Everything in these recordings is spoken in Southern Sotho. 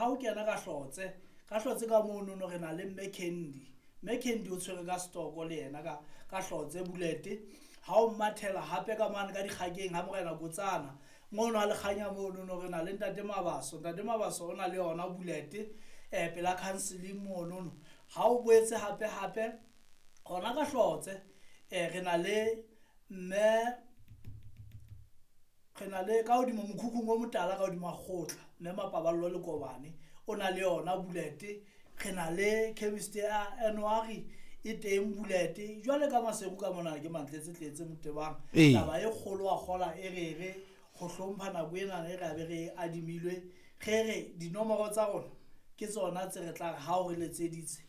ha o kena ka Hlotse, ka Hlotse ka monono re na le Mme Candy. Mme Candy o tshwere ka stoko le yena ka Hlotse Bullet. Ha o mathela hape ka mane ka Dikgakeng ha Morena Kotsana, mono ha Lekganya monono re na le Ntate Mabaso. Ntate Mabaso o na le yona Bullet pela counseling monono. Ha o boetse hape hape hona ka Hlotse re na le mme, re na le ka hodimo mokhukhung o motala ka hodimo kgotla, mme Mapaballo le Kobane o na le yona Bullet. Re na le chemist ya January e teng Bullet. Jwale ka Maseru ka mona ke mantletse tletse Motebang. Taba e kgolo wa kgola e re re go hlompha nako ena e re be re adimilwe, re re dinomoro tsa rona ke tsona tse re tla re ha o re letseditse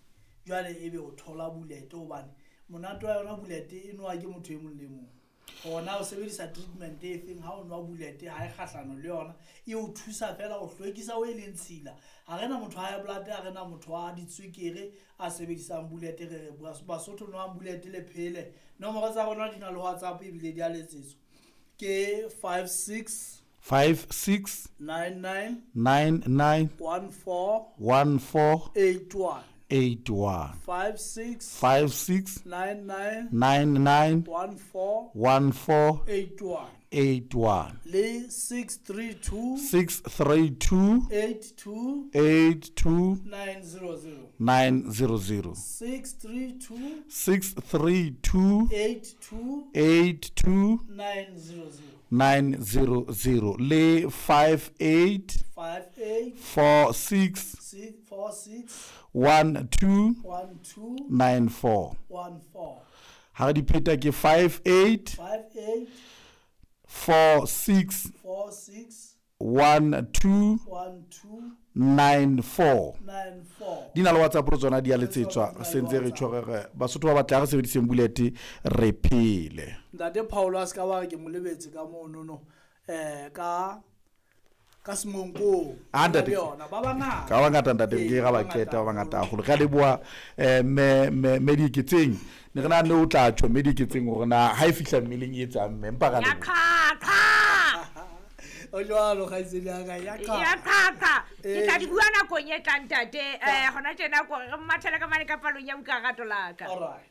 jwale ebe o thola Bullet, hobane monate wa yona Bullet e nowa ke motho e mong le mong. Hona o sebedisa treatment e feng ha o nwa Bullet, ha e kgahlano le yona, e o thusa fela ho hlwekisa o e leng tshila. Ha rena motho wa high blood, ha rena motho wa ditswekere a sebedisang Bullet. Re re Basotho nwang Bullet le phele. Nomoro tsa rona di na le WhatsApp ebile di a letsetswa, ke 56 56 99 99 14 14 81 81 56 56 99 99 14 14 81 81 le 632 632 82 82 900 900 632 632 82 82 900 900 le 58 58 46 6 4 6 12 1 2 94. 1 4. Ha re di pheta ke 58 5 8 4 6 4 6 1 2 1 2 9 4. 9 4. Di na le WhatsApp le tsona di a letsetswa, Di na le sentse re WhatsApp. tjho re Basotho ba batla re sebediseng Bullet re phele. Ntate Paulo a se ka ba re ke mo lebetse ka monono ka Semonkong. Ah, ntate. Le yona ba bangata. Ka bangata ntate, Ee, ke ga ba ba keta ba bangata bangata haholo. Re a leboha mme Dieketseng. Ne re nahane o tla tjho mme Dieketseng hore na ha e fihla mmeleng e etsang mme, empa ra Ya leboha. qhaqha. O jwalo kgaitsedi ya ka, ya Ya qha. qhaqha. Ke Ee. tla di bua nakong e tlang ntate. Hona tjena ko re mathele ka mane ka palong ya buka rato la ka. All right.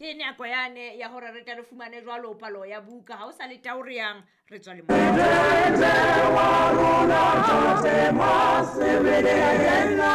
Ke nako yane ya hore re tle re fumane jwalo palo ya buka. Ha o sa le tao re yang, re tswa le moo.